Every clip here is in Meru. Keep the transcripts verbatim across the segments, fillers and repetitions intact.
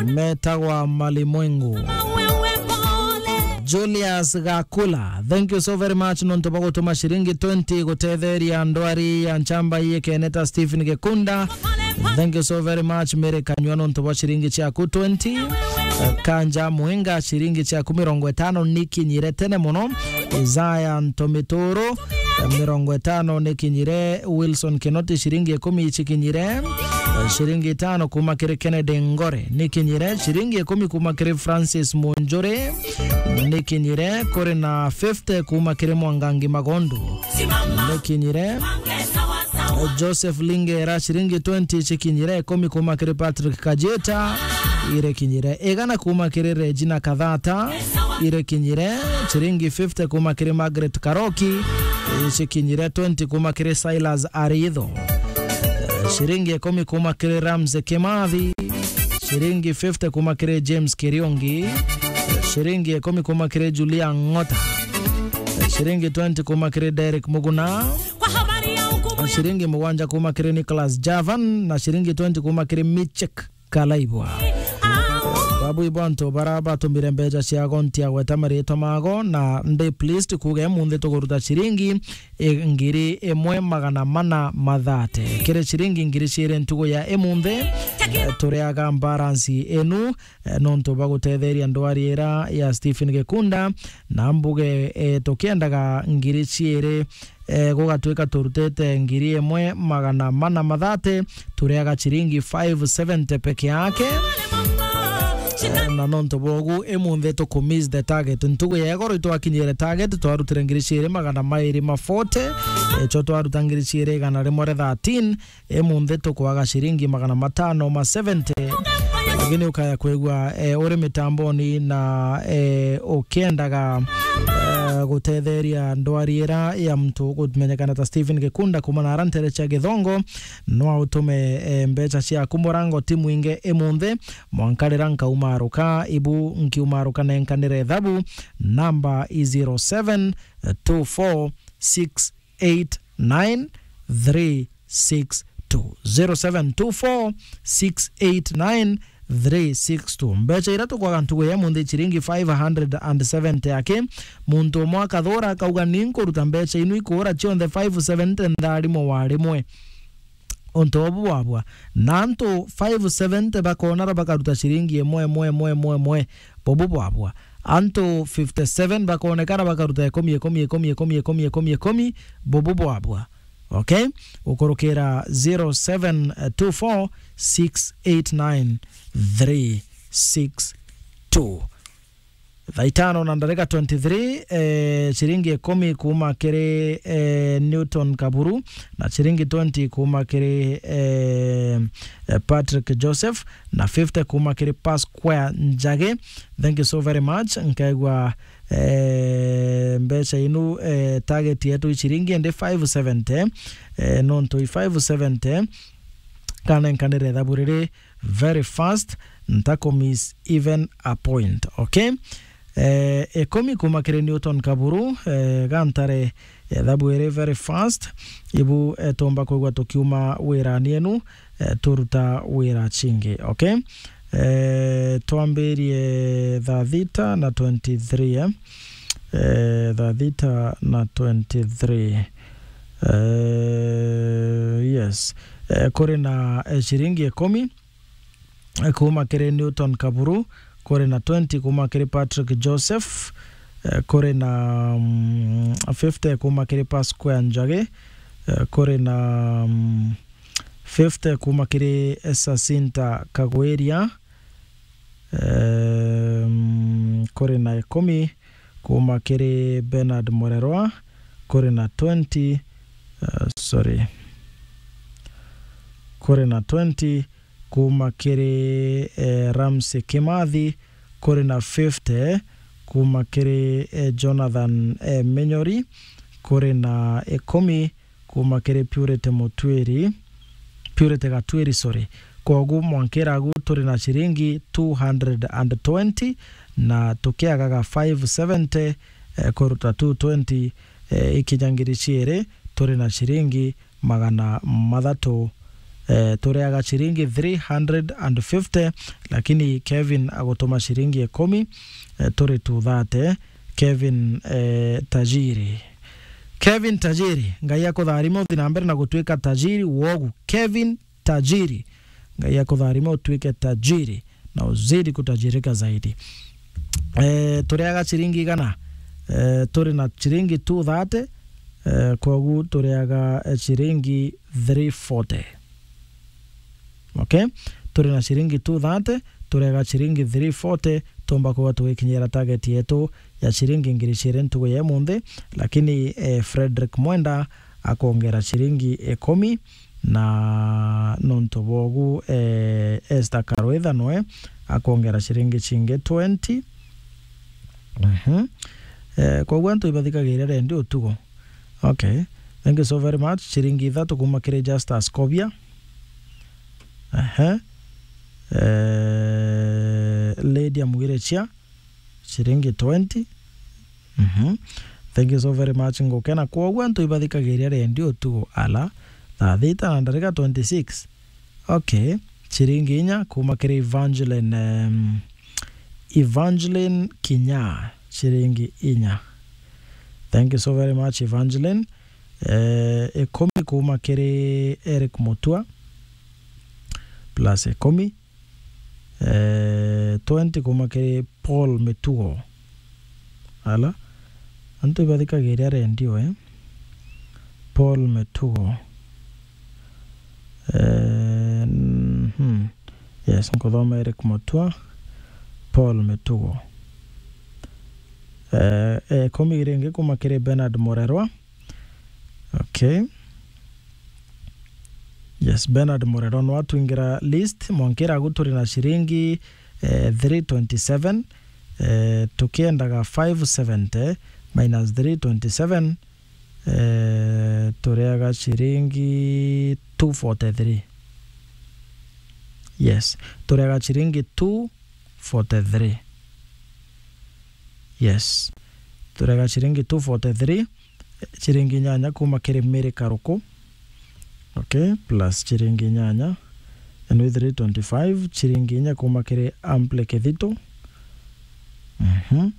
Metagwa Malimwengu. Julius Gakula, thank you so very much nontu bwa gutuma ciringi twenty gutetheria ndwari ya nchamba iikene ta Stephen Gikunda. Thank you so very much Mary Kanyua nontu bwa ciringi ciaku twenty. Kanja Mwinga, ciringi ciaku mirongo itano nikinyire tene muno. Isaya Ntomituru, mirongo itano nikinyire. Wilson Kinoti, ciringi ikumi icikinyire. Ciringi itano kuma kiri Kennedy Ngore nikinyire. Ciringi ikumi kuma kiri Francis Munjuri nikinyire. Kuri na fifty kuma kiri Mwangangi Magondu nikinyire. Joseph Lingera, ciringi twenty cikinyire. Ikumi kuma kiri Patrick Kajeta irekinyire. Igana kuma kiri Regina Kathata irekinyire. Ciringi fifty kuma kiri Margaret Karoki icikinyire. Twenty kuma kiri Silas Aritho. Ciringi ikumi kuma kiri Ramsey Kimathi. Ciringi fifty kuma kiri James Kiriongi. Ciringi ikumi kuma kiri Julia Ng'ota. Ciringi twenty kuma kiri Derek Muguna. Ciringi mugwanja kuma kiri Nicholas Javan na ciringi twenty kuma kiri Michek Kalaibwa. Babu ibo antu bara batumire mbeca ciago ntiagweta maritwa mago na ndi pleased kuuga imunthi tukuruta ciringi i-, ngiri imwe magana mana mathate. Kiri ciringi ngiri ciiri ntugu ya imunthi, eh, turiaga balance inu, eh, nontu bwa gutetheria ndwari ira ya Stephen Gikunda, na mbuge, eh, tukiendaga ngiri ciiri, eh, gugatwika turutite ngiri imwe magana mana mathate, turiaga ciringi five seventy peke yake. Eh, na nontu bwogu, imunthi tuku miss the target. Ntugu ya igoro itwakinyire target, twarutire ngiri ciiri magana mairi ma forty, eh, cho twaruta ngiri ciiri igana rimwe ria thirteen, imunthi tukwaga ciringi magana matano ma seventy. Lakini ukaya kwigua, eh, uri mitamboni na, eh, ukiendaga, eh, gutetheria ndwari ira ya mtu kumenyekana ta Stephen Gikunda kuma na ara ntere cia Githongo, no utume, eh, mbeca ciaku murango ti mwingi imunthi, mwanka rira nkaumaruka, ibu nkiumaruka nenkanire ithabu, namba i zero seven two four six eight nine three six two. Zero seven two four six eight nine three six two. Mbeca ira tukwaga ntugu ya munthi ciringi five hundred and seventy aki. Muntu umwe akathura akauga, "Ni nkuruta mbeca inu ikuura cionthe five seventy ntharimo wa rimwe." Untu ubu bwabwa. Na antu five seventy bakonara bakaruta ciringi imwe, imwe, imwe, imwe, imwe. Bubu bwabwa. Antu fifty seven bakonekana bakaruta ikumi, ikumi, ikumi, ikumi, ikumi, ikumi, ikumi. Bubu bwabwa. Okay? Ukurukira zero seven two four six eight nine three six two. Thaa itano na ndarika twenty-three, eh, ciringi ikumi kuma kiri, eh, Newton Kaburu, na ciringi twenty kuma kiri, eh, eh, Patrick Joseph, na fifty kuma kiri Pasquare Njage. Thank you so very much. Nkaigua, eh, mbeca inu, eh, target yetu i ciringi indi five seventy, eh, nontu i five seventy, kana nkanire ithabu riri very fast, ntakumiss even a point, okay? Eh, ikumi kuma kiri Newton Kaburu, eh, gantare, eh, ithabu iri very fast, ibu, eh, tumba kwigua tukiuma wirani enu, eh, turuta wira chingi, okay? Eh, twambirie thaa thita na twenty-three, eh? Eh, thaa thita na twenty-three. Eh, yes. Eh, kuri na, eh, ciringi ikumi, eh, kuma kiri Newton Kaburu, kuri na twenty kuma kiri Patrick Joseph, eh, kuri na, mm, fifty kuma kiri Pasquare Njagi, eh, kuri na, mm, fifty kuma kiri Jacinta Kagwiria, eh, mm, kuri na ikumi kuma kiri Bernard Murerwa, kuri na twenty, eh, sorry, kuri na twenty kuma kiri, eh, Ramsey Kimathi, kuri na fifty kuma kiri, eh, Jonathan, eh, Minyori, kuri na ikumi kuma kiri Purity Mutwiri, Purity Gatwiri, sorry. Kwogu mwankiragu turi na ciringi two hundred and twenty, na tukiagaga five seventy, eh, kuruta two twenty, eh, ikinya ngiri ciiri, turi na ciringi magana mathatu, eh, tureaga ciringi three hundred and fifty, lakini Kevin agutuma ciringi ikumi, eh, turi two thirty. Kevin, eh, tajiri. Kevin tajiri, Ngai akutharime uthi na mbere na gutuika tajiri wogu. Kevin tajiri, Ngai akutharime utuike tajiri na uzidi kutajirika zaidi. Eh, tureaga ciringi igana, eh, turi na ciringi two thirty, eh, kogu tureaga, eh, ciringi three forty. Okay? Turi na ciringi two thirty, turega ciringi three forty, tumba kuba tugikinyira target yetu ya ciringi ngiri ciiri ntugu ya imunthi, lakini, eh, Frederick Mwenda akwongera ciringi ikumi, na nontu bogu, eh, Esther Karwitha noe akwongera ciringi cingi twenty. Mhm. Eh, koguo antu ibathikagiria rendi utugo. Okay. Thank you so very much. Ciringi ithatu kuma kiri Justus Kobia. Ehe. Eh, Lydia Mwirichia, ciringi twenty. Mhm. Thank you so very much. Ngukena kwogua antu ibathikagiria rendi utugo ala thaa thita na ndarika twenty-six. Okay. Ciringi inya kuma kiri Evangeline, em, Evangeline Kinya, ciringi inya. Thank you so very much, Evangeline. Eh, ikumi kuma kiri Eric Mutua, plus ikumi. Eh, twenty kuma kiri Paul Mitugo. Ala, antu ibathikagiria rendi we. Paul Mitugo. Eh, mhm. Yes, nkuthoma Eric Mutua, Paul Mitugo. Eh, eh, ikumi ringi kuma kiri Bernard Murerwa. Okay. Yes, Bernard Murerwa no atwingira list, mwankira agu turi na ciringi, eh, three twenty-seven, eh, tukiendaga five seventy minus three twenty-seven, eh, tureaga ciringi two forty-three. Yes, tureaga ciringi two forty-three. Yes. Tureaga ciringi two forty-three, ciringi inyanya kuma kiri Mary Karuku. Okay, plus ciringi inyanya, and with three twenty-five, ciringi inya kuma kiri Ample Kithito. Mhm.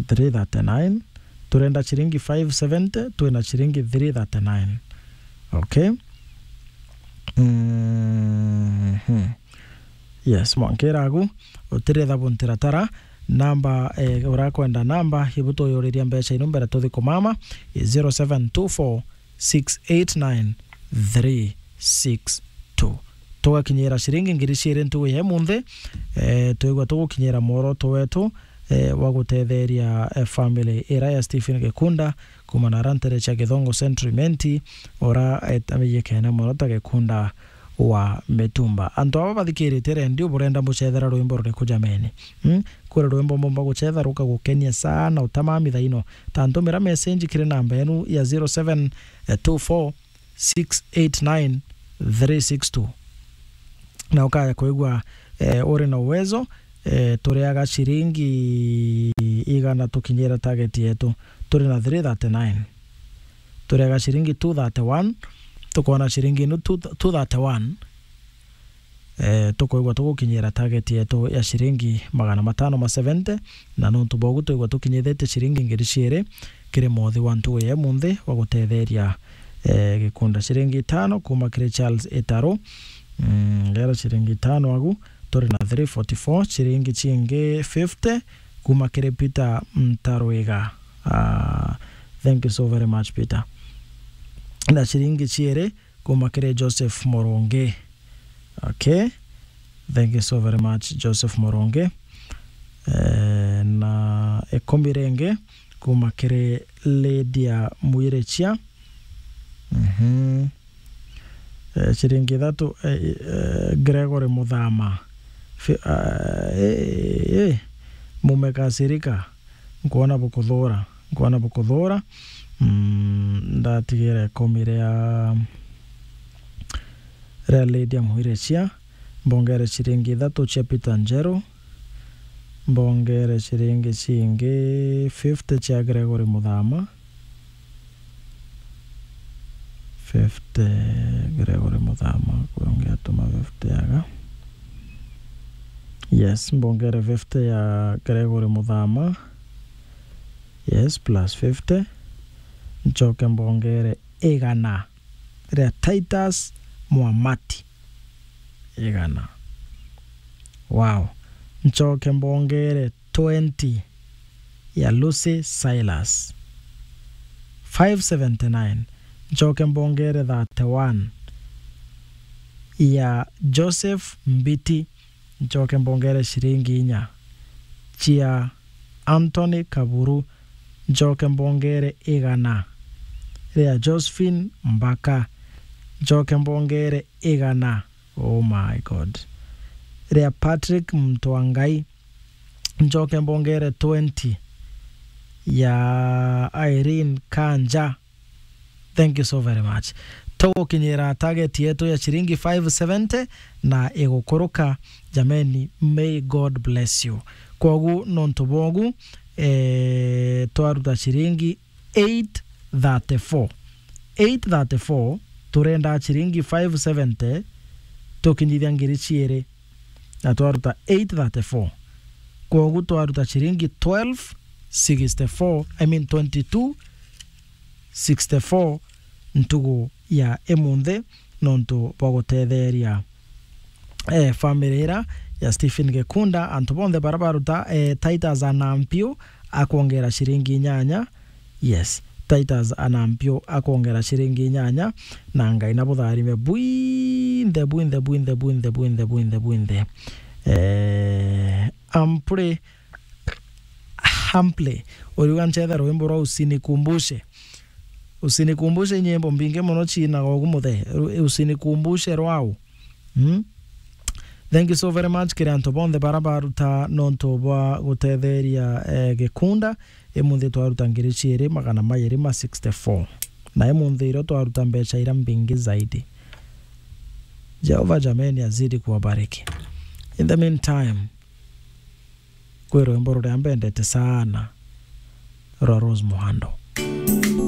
Three thirty-nine. Turenda ciringi five seventy, twina ciringi three thirty-nine. Okay. Mhm. Yes, mwankira agu, utiretha buntiratara, namba, eh, urakwenda namba, ibu tuyuriria mbeca inu mbere tuthi kumama, i zero seven two four six eight nine three six two. Tugakinyira ciringi ngiri ciiri ntugu ya imunthi, eh, twigua tugukinyira mworoto wetu, eh, wa gutetheria, eh, family ira ya Stephen Gikunda, kuma na ara ntere cia Githongo Central Imenti, ura, eh, amenyekene mono ta Gikunda wa Mitumba. Antu aba bathikirite redio burenda mucethera rwimbo ruriku jameni? Mm? Kuri rwimbo mbumba gucetha rukagukenia sana utamamitha ino? Ta ntumira message kiri namba yenu ya zero seven two four six eight nine three six two. Na ukaya kwigua, eh, uri na uwezo, eh, turiaga ciringi igana tukinyira target yetu. Turi na three thirty-nine. Turiaga ciringi two thirty-one, tukona ciringi inu two, two thirty-one. Eh, tukwigua tugukinyira target yetu ya ciringi magana matano ma seventy, na nontu bogu twigua tukinyithitie ciringi ngiri ciiri kiri mothi wa ntugu ya imunthi wa gutetheria, eh, Gikunda. Ciringi itano kuma kiri Charles Itaru. Mm, ngera ciringi itano agu, turi na three forty-four, ciringi cingi fifty kuma kiri Peter Ntarwiga. Ah, thank you so very much, Peter. Na ciringi ciiri kuma kiri Joseph Murungi. Okay. Thank you so very much, Joseph Murungi. Eh, na ikumi ringi kuma kiri Lydia Mwirichia. Mhm. Eh, ciringi ithatu, eh, eh, Gregory Muthama. Fi-, ah, eh, eh, mumekasirika. Nkwona bukuthura, nkwona bukuthura. Mm, ndatigira ikumi ria, ria Lydia Mwirichia, mbongere ciringi ithatu cia Peter Njeru, mbongere ciringi cingi fifty cia Gregory Muthama, fifty, Gregory Muthama, kwe ungi atuma fifty aga. Yes, mbongere fifty ya Gregory Muthama. Yes, plus fifty. Nchoke mbongere igana ria Titus Mwamati. Igana. Wow. Nchoke mbongere twenty ya Lucy Silas. Five seventy-nine. Nchoke mbongere thirty-one ya Joseph Mbiti. Nchoke mbongere ciringi inya cia Anthony Kaburu. Nchoke mbongere igana ria Josephine Mbaka. Nchoke mbongere igana. Oh my God. Ria Patrick Mtwangai. Nchoke mbongere twenty ya Irene Kanja. Thank you so very much. Tugukinyira target yetu ya ciringi five seventy na igukuruka. Jameni, may God bless you. Kwogu nontu bwogu, eh, twaruta ciringi eight thirty-four. Eight thirty-four, turenda ciringi five seventy, tukinyithia ngiri ciiri, na twaruta eight thirty-four. Kwogu twaruta ciringi twelve sixty-four, I mean twenty-two sixty-four ntugu ya imunthi, nontu bwa gutetheria, eh, family ira ya Stephen Gikunda, antu bonthe bara baruta, eh, Titus Anampio akwongera ciringi inyanya. Yes, Titus Anampio akwongera ciringi inyanya, na Ngai na butharime bwinthe, bwinthe, bwinthe, bwinthe, bwinthe, bwinthe, bwinthe. Eh, Ampure Hampley, uriuga nchethe rwimbo rwa Usinikumbushe. Usinikumbushe nyimbo mbingi mono ciinaga ugu muthe. Ru-, Usinikumbushe rwau. Mm? Thank you so very much kiri antu bonthe bara baruta nontu bwa gutetheria, eh, Gikunda. Imunthi twaruta ngiri ciiri magana mairi ma sixty-four. Na imunthi irio twaruta mbeca ira mbingi zaidi. Jehova jameni azidi kuwabariki. In the meantime, kwi rwimbo ruria mbendete sana rwa Rose Muhando.